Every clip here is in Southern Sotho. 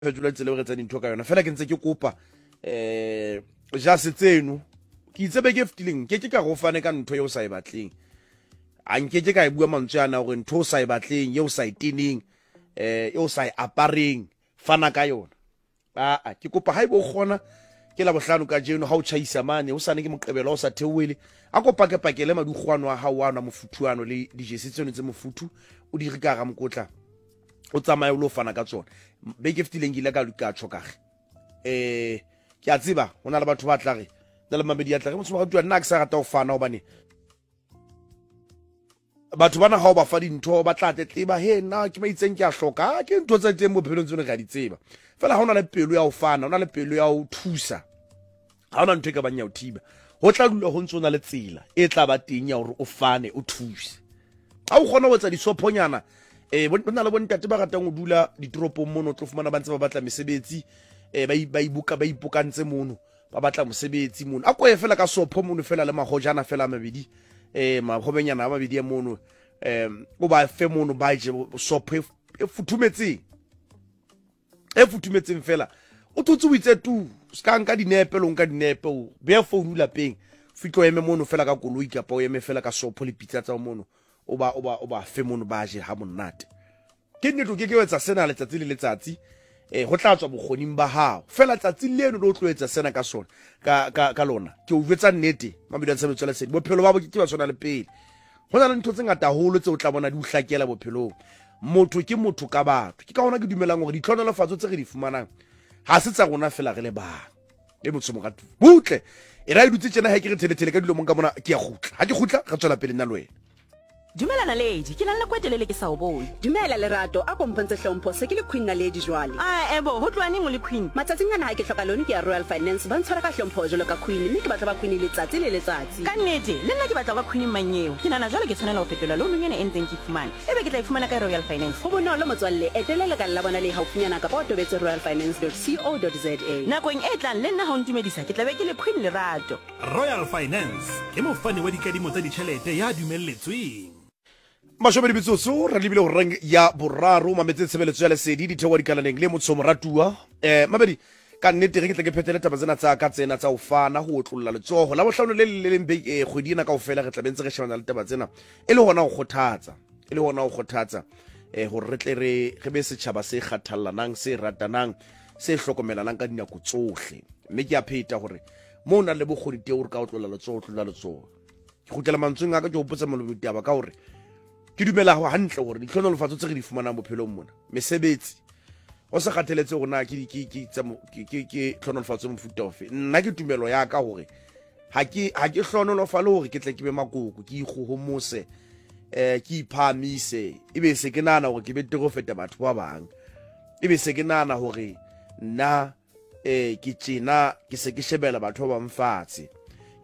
Fetola tsela eo re etsang dintho ka yona fela ke ntse ke kopa um jase tseno ke itse beke e fetileng nke ke ka go fane ka ntho e o sa e batleng a nke ke ka e bua mantswe ana gore ntho o sa e batleng e o sa e teneng um e o sa e apareng fana ka yona aa ke kopa ha ebe o kgona ke la bohlano ka jeno ha o tjhaisa mane o sane ke moqebelo o sa theohele a ko pakepakele madukgwano a hao ano a mofuthu ano le dijesi tseno tse mofuthu o di re ka hara mokotla o tsamaye o lo fana ka tsona beke e fetileng ke ile ka ka tjho kage um ke a tseba go na le batho ba tla re na le mamedi ya tla re motho wa nna ke sa rata go fana gobane batho bana ga o ba fa dintho ba tla tletleba he nna ke ba itseng ke a hloka ah, ke ntho tse teng bophelong tsone re a di tseba fela ga o na le pelo ya go fana o na le pelo ya go thusa Ga ona ntho e ka bang ya o thiba. Ho tla dula ho ntse o na le tsela e tla ba teng ya hore o fane, o thuse. Ha o kgona ho etsa disophonyana, eh, ho na le bontate ba ratang ho dula ditoropong mono, o tlo fumana ba ntse ba batla mesebetsi, eh, ba ba iboka ba ipokantse mono, ba batla mosebetsi mono. A koye fela ka sopho mono fela le mahojana fela a mabedi, eh, mahobenyana a mabedi a mono, eh, o ba fe mono ba je sopho e futhumetseng. E futhumetseng fela o thotse o itse tu se ka nka dinepe lo nka dinepe o beya founu lapeng fitlhe o eme mono fela ka koloi kapa o eme fela ka sopho le pitsa tsa mono o ba o ba o ba fe mono ba je ha monate. Ke nnete o ke ke etsa sena letsatsi le letsatsi, eh ho tla tswa bokgoning ba hao fela tsatsi leno le o tlo etsa sena ka sona ka ka ka lona ke o jwetsa nnete mabidi a tshebetso lesedi bophelo ba bo ke ba tshwana le pele. Ho na le ntho tse ngata haholo tse o tla bona di o hlakela bophelong. Motho ke motho ka batho. Ke ka hona ke dumelang hore ditlhohonolofatso tse re di fumanang ha se tsa rona fela re le bang. E motho moratuwa. Butle. E ra e dutse tjena ha ke re thelethele ka dilo mong ka mona ke ya kgutla. Ha ke kgutla re tswela pele nna le wena. Dumela Naledi, ke na le nako e telele ke sa o bone. Dumela Lerato, a ko mpontshe hlompho, se ke le Queen Naledi jwale. Ae bo, ho tloha neng o le Queen? Matsatsing ana ha ke hloka loan ke ya Royal Finance, ba ntshwara ka hlompho jwalo ka Queen mme ke batla ho ba Queen letsatsi le letsatsi. Ka nnete, le nna ke batla ho ba Queen mmanyeo. Ke nahana jwale ke tshwanela ho fetola loanong ena e ntseng ke e fumana. Ebe ke tla e fumana kae Royal Finance? Ho bonolo motswalle, etela lekala la bona le haufinyana kapa o tobetse royalfinance.co.za. Nakong e tlang le nna ha o ntumedisa ke tla be ke le Queen Lerato. Royal Finance ke mofani wa dikadimo tsa ditjhelete ya dumelletsweng. Mashome metsotso re lebile horeng ya boraro mametse tshebeletso ya lesedi ditheoa dikalaneng le motsho moratuwa eh mabedi ka nnete ge ke tle ke phethele taba tsena tsa ka tsena tsa ho fana ho otlolla letsogo la bohlano le le leng eh, kgwedi ena kaofela re tla be ntse re shebana le taba tsena e le hona ho kgothatsa e le hona ho kgothatsa eh hore re tle re re be setjhaba se kgathallanang se ratanang se hlokomelanang ka dinako tsohle mme ke a pheta hore mo o nang le bokgoni teng hore ka otlolla letsogo otlolla letsogo ke kgutlela mantsweng a ka ke hopotsa molomo ditaba ka hore ke dumela ho hantle hore ditlhonolofatso tse re di fumanang bophelong mona mesebetsi go sa kgatheletse gore na ke ke ke ke ke tlhonolofatso mofuta ofe nna ke tumelo ya ka hore ha ke ha ke hlonolofale hore ke tle ke be makoko ke ikgohomose eh ke iphahamise ebe se ke nahana hore ke betere ho feta batho ba bang ebe se ke nahana hore nna eh ke tjena ke se ke shebela batho ba bang fatshe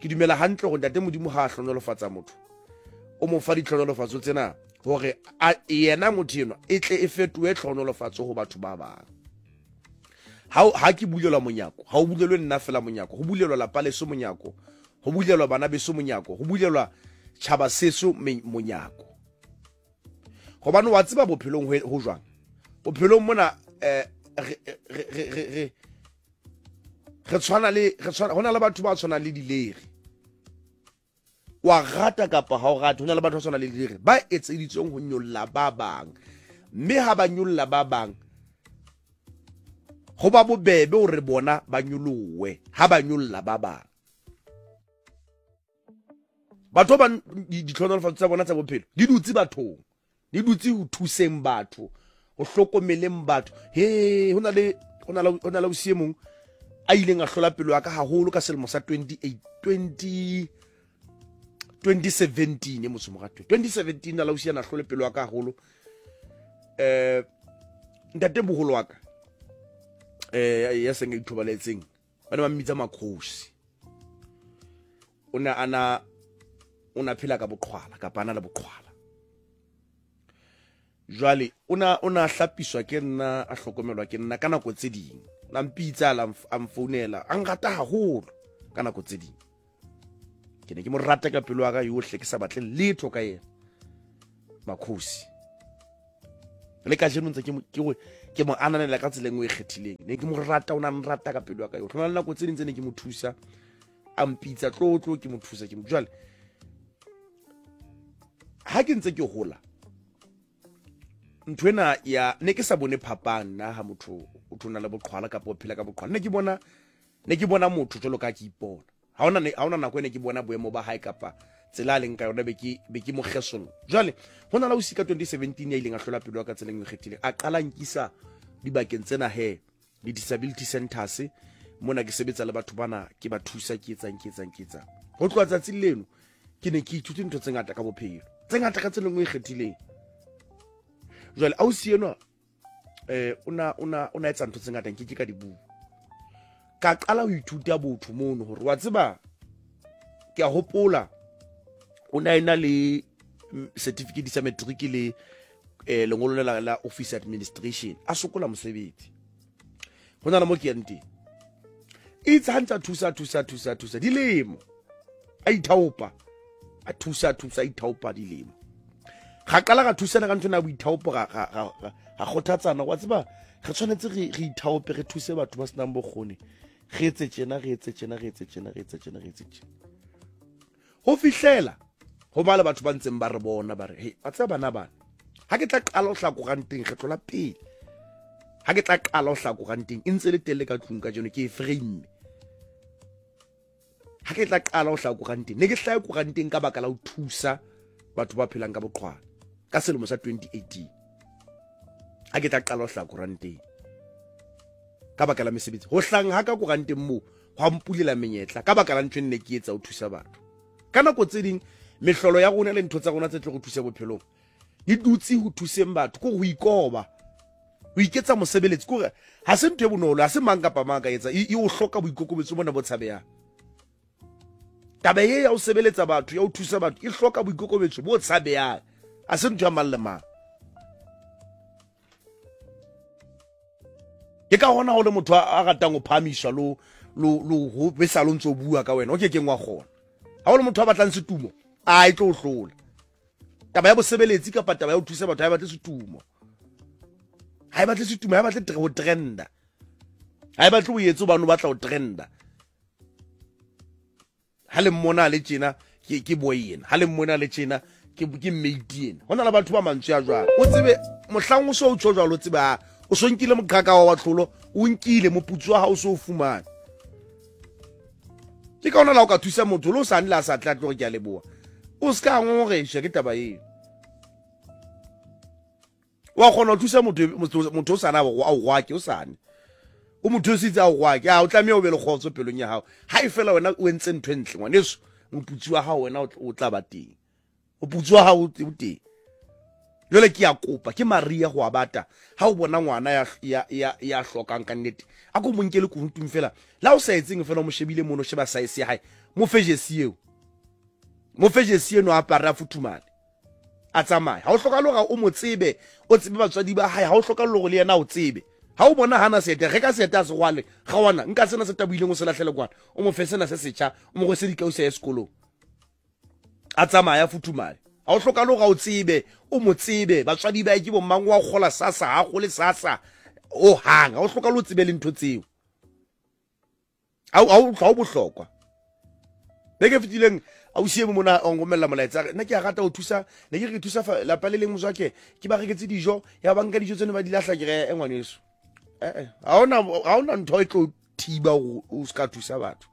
ke dumela hantle hore ntate modimo ha a hlonolofatsa motho o mo fa ditlhonolofatso tsena hore yena motho enwa e tle e fetohe tlhonolofatso ho batho ba bang ha ha ke bulelwa monyako ha o bulelwe nna fela monyako ho bulelwa lapa leso monyako ho bulelwa bana beso monyako ho bulelwa tjhaba seso monyako gobane wa tseba bophelong ho jwang bophelong mona eh, re re tshwana le re tshwana hona le batho ba tshwanang le dileri wa rata kapa ha o rate hona le batho ba tshwanang le dileri ba etseditsweng ho nyolla ba bang mme ha ba nyolla ba bang ho ba bobebe hore bona ba nyolowe ha ba nyolla ba bang batho ba ditlhonolofatso tsa bona tsa bophelo di dutse bathong di dutse ho thuseng batho ho hlokomeleng batho he ho na le ho na le ho na le ausi e mong a ileng a hlola pelo ya ka haholo ka selemo sa 28 20 2017 e motho morato 2017 na lausi ana hlole pelo ya ka haholo eh ntate boholo wa ka eh ya seng a ithobaletseng ba ne ba mmitsa makhosi o ne ana o na phela ka boqhwala kapa ana le boqhwala jwale o na o na hlapiswa ke nna a hlokomelwa ke nna ka nako tse ding na mpitsa a mfounela a nrata haholo ka nako tse ding ke ne ke mo rata ka pelo ya ka yohle ke sa batle letho ka yena makhosi le kajeno ntse ke Ke mo ananela ka tsela e nngwe e kgethileng. Ne ke mo rata, o na nrata ka pelo ya ka yotlhe. Ho na le nako tse ding tse ne ke mo thusa, a mpitsa tlo tlo ke mo thusa ke mo. Jwale ha ke ntse ke hola, ntho ena ya ne ke sa bone phapang nna ha motho o tho na le boqhwala kapa o phela ka boqhwala. Ne ke bona ne ke bona motho jwalo ka ke ipona. Ha hona ha hona nako e ne ke bona boemo ba hae kapa tsela a leng ka yona be ke be ke mo kgesolla. Jwale ho na le ausi ka 2017 ya ileng a hlola pelo ya ka tseleng e kgethileng. A qala nkisa dibakeng tsena he di-disability centers mona ke sebetsa le batho bana ke ba thusa ke etsang ke etsang ke etsang. Ho tloha tsatsing leno ke ne ke ithute ntho tse ngata ka bophelo tse ngata ka tsela e nngwe e kgethileng. Jwale ausi enwa eh o na o na o na etsa ntho tse ngata nke ke ka di bua. Ka qala ho ithuta botho mono hore wa tseba ke a hopola o na ena le certificate sa matric le eh lengolo la la office administration a sokola mosebetsi. Ho na le mo ke yang teng. Itse ha ntse thusa thusa thusa thusa dilemo a ithaopa a thusa thusa a ithaopa dilemo. Ga qala ga thusana ka ntho ena ya boithaopo ga ga ga ga kgothatsana wa tseba re tshwanetse re re ithaope re thuse batho ba senang bokgoni re etse tjena re etse tjena re etse tjena re etse tjena re etse tjena ho fihlela ho ba le batho ba ntseng ba re bona ba re he wa tseba bana bana ha ke tla qala ho hlaha koranteng kgetlo la pele ha ke tla qala ho hlaha koranteng e ntse le telle ka tlung kajeno ke e frame Ha ke tla qala ho hlaha koranteng, ne ke hlahe koranteng ka baka la ho thusa batho ba phelang ka boqhwala ka selemo sa 2018. Ha ke tla qala ho hlaha koranteng ka baka la mesebetsi, ho hlahang ha ka koranteng moo hwa mpulela menyetla ka baka la ntho e nne ke etsa ho thusa batho. Ka nako tse ding mehlolo ya rona le ntho tsa rona tse tlo re thusa bophelong di dutse ho thuseng batho, ke ho ikoba, ho iketsa mosebeletsi, ke hore ha se ntho e bonolo, ha se mang kapa mang ka etsa, e o hloka boikokobetso bona bo tshabehang. Taba e ya ho sebeletsa batho, ya ho thusa batho, e hloka boikokobetso bo tshabehang, ha se ntho ya mang le mang. Ke ka hona ho le motho a ratang ho phahamiswa lo lo lo ho besa lo ntso bua ka wena, o ke keng wa kgona. Ha o le motho a batlang setumo, a e tlo o hlola. Taba ya bosebeletsi kapa taba ya ho thusa batho ha e batle setumo. Ha e batle setumo, ha e batle ho trenda. Ha e batle o etse hobane o batla ho trenda. Ha le mmona le tjena ke ke boy yena. Ha le mmona le tjena ke ke mate yena. Ho na le batho ba mantswe a jwalo. O tsebe mohlang o so o tjho jwalo o tsebe ha o so nkile moqhaka wa tlholo, o nkile moputso wa hao o so o fumane. Ke ka hona la o ka thusa motho le o sane le a sa tla tlo re ke a leboha. O se ka ngongoreiswa ke taba eo. Wa kgona ho thusa motho motho o sane a o gwake o sane. O mo thusitse a o gwake, a o tlameha o be le kgotso pelong ya hao. Ha e fela wena o entse ntho e ntle ngwaneso, moputso wa hao wena o tla ba teng. Moputso wa hao o teng. Jwale ke a kopa, ke Maria ho a bata. Ha o bona ngwana ya, ya, ya, ya hlokang ka nnete, a ko mo nkele kunutung fela. La o sa etseng fela o mo shebile mono, sheba size ya hae. Mo fe jesi eo. Mo fe jesi eno a apare a futhumale. A tsamaye. Ha o hlokahale hore o mo tsebe, o tsebe batswadi ba hae, ha o hlokahale hore le yena a o tsebe. Ha o bona hana seeta, reka seeta a se rwale. Kgawana, nka sena se tabohileng o se lahlele kwana. O mo fe sena se setjha, o mo rwese dikausi a ye sekolong. A tsamaya a futhumale. Ha o hlokahale hore a o tsebe, o mo tsebe, batswadi ba hae ke bo mang, wa kgola sasa, ha kgole sasa, ho hang. Ha o hlokahale o tsebe le ntho tseo. Ha o bohlokwa. Beke e fetileng ausi e mong mona a nromella molaetsa a re nna ke a rata ho thusa, ne ke re ke thusa lapa le leng motswake, ke ba reketse dijo, ya ba nka dijo tseno ba di lahla, ke re e ngwaneso. Eh, ha hona ntho e tlo thiba hore o ska thusa batho.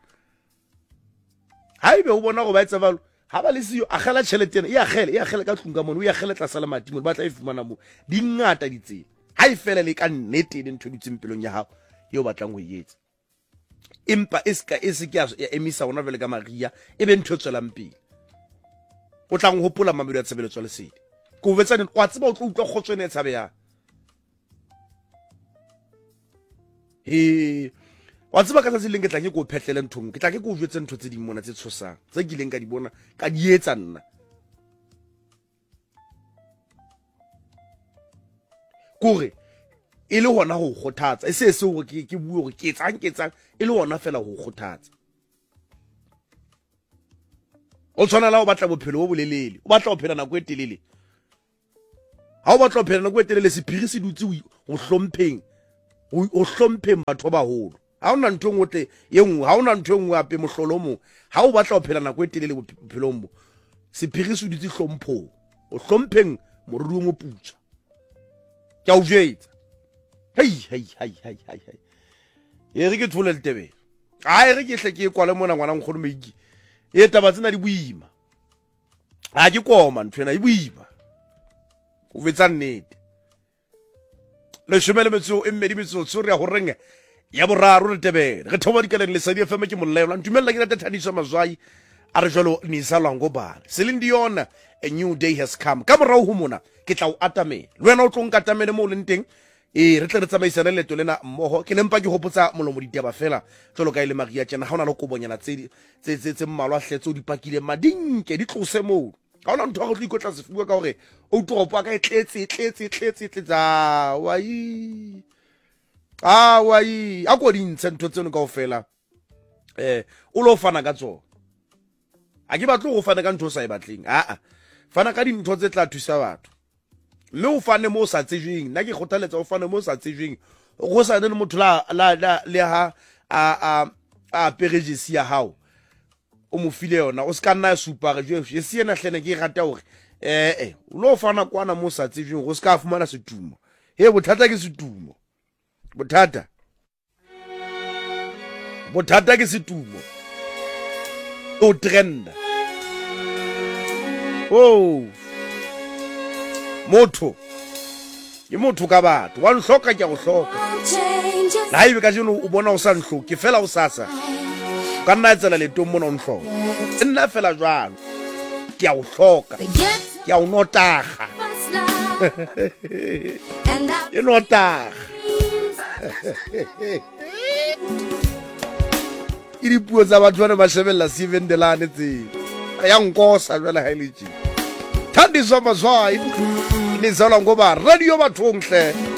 Ha ebe o bona hore ba etsa jwalo, ha ba le siyo, akgela tjhelete ena, e akgele, e akgele ka tlung ka mono, o e akgele tlasa lemati mono, ba tla e fumana moo. Di ngata ditsela. Ha e fela le ka nnete e le ntho e dutseng pelong ya hao eo batlang ho e etsa. Empa e seka e se ke ya emisa hona jwale ka Maria, e be ntho e tswelang pele. O tla hopola mamelo ya tshebeletso ya lesedi. Ke o jwetsa nnete, wa tseba o tlo utlwa kgotso ena e tshabehang. He, wa tseba ka tsatsi leng ke tla ke ko phetlele ntho nngwe, ke tla ke ko jwetse ntho tse ding mona tse tshosang, tse kileng ka di bona, ka di etsa nna. Kore e le hona ho kgothatsa, e se se hore ke ke bue hore ke etsang ke etsang, e le hona fela ho kgothatsa. O tshwana la o batla bophelo bo bolelele, o batla ho phela nako e telele. Ga o batla go phela nako e telele, sephiri se dutse go hlompheng, go hlompheng batho ba bagolo. Ga o na ntho e nngwe tle ye nngwe, ga o na ntho e nngwe ape mohlolo mongwe. Ga o batla go phela nako e telele bophelong bo, sephiri se dutse hlomphong, o hlompheng moriri o moputswa. Ke a o jwetsa. Hei, hei, hei, hei, hei, hei. E re ke thole letebele. A e re ke hle ke e kwale mona ngwana nkgono Meiki. E taba tsena di boima. A ke koma ntho ena e boima. O betsa nnete. Leshome le metso e mmedi metsotso re ya horeng ya boraro re tebele. Re theoha dikaleng Lesedi FM ke molelwa. Ntumella ke rate Thadiso Mazwai a re jwalo Nisa Lwangobane. Celine Dion, a new day has come. Ka morao ho mona ke tla o atamela. Le wena o tlo nkatamele mo o leng teng. Ee, re tle re tsamaisane leeto lena mmogo. Ke ne mpa ke gopotsa molomo ditaba fela jalo ka e le maria tjena. Ga o na le kobonyana tse tse tse tse mmalwa hle tse o di pakileng madinke di tlose moo. Ga ona ntho ya go tlo ikotla sefuba ka gore o toropo ka e tletse e tletse e tletse e tletse. A wai a wai a ko di ntshe ntho tseno kaofela. O lo fana ka tsona. A ke batle go fana ka ntho o sa e batleng. Aa, fana ka dintho tse tla thusa batho. Mme o fane mo o sa tsejweng. Nna ke kgothaletsa o fane mo o sa tsejweng. Go sa ne le motho la la la le ha a a a apere jesi ya hao. O mo file yona, o se ka nna ya supa re jwe jesi ena hlene ke e rata hore eh o lo fana kwana mo o sa tsejweng go se ka fumana setumo. He bothata ke setumo. Bothata bothata ke setumo o trenda oh motho ke motho ka batho wa nhloka ke a go hloka le ga ebe ka jeno o bona o sa ntlhoke fela o sasa o ka nna tsela letong mona o ntlhoka e nna fela jalo ke a o hloka ke a o notaga e notaga ke dipuo tsa batho ba ne ba shebelela sevendelane tseo ya nkosa jale ga e le tše thandiswa mazwai le zalwa ngoba radio bathong hle.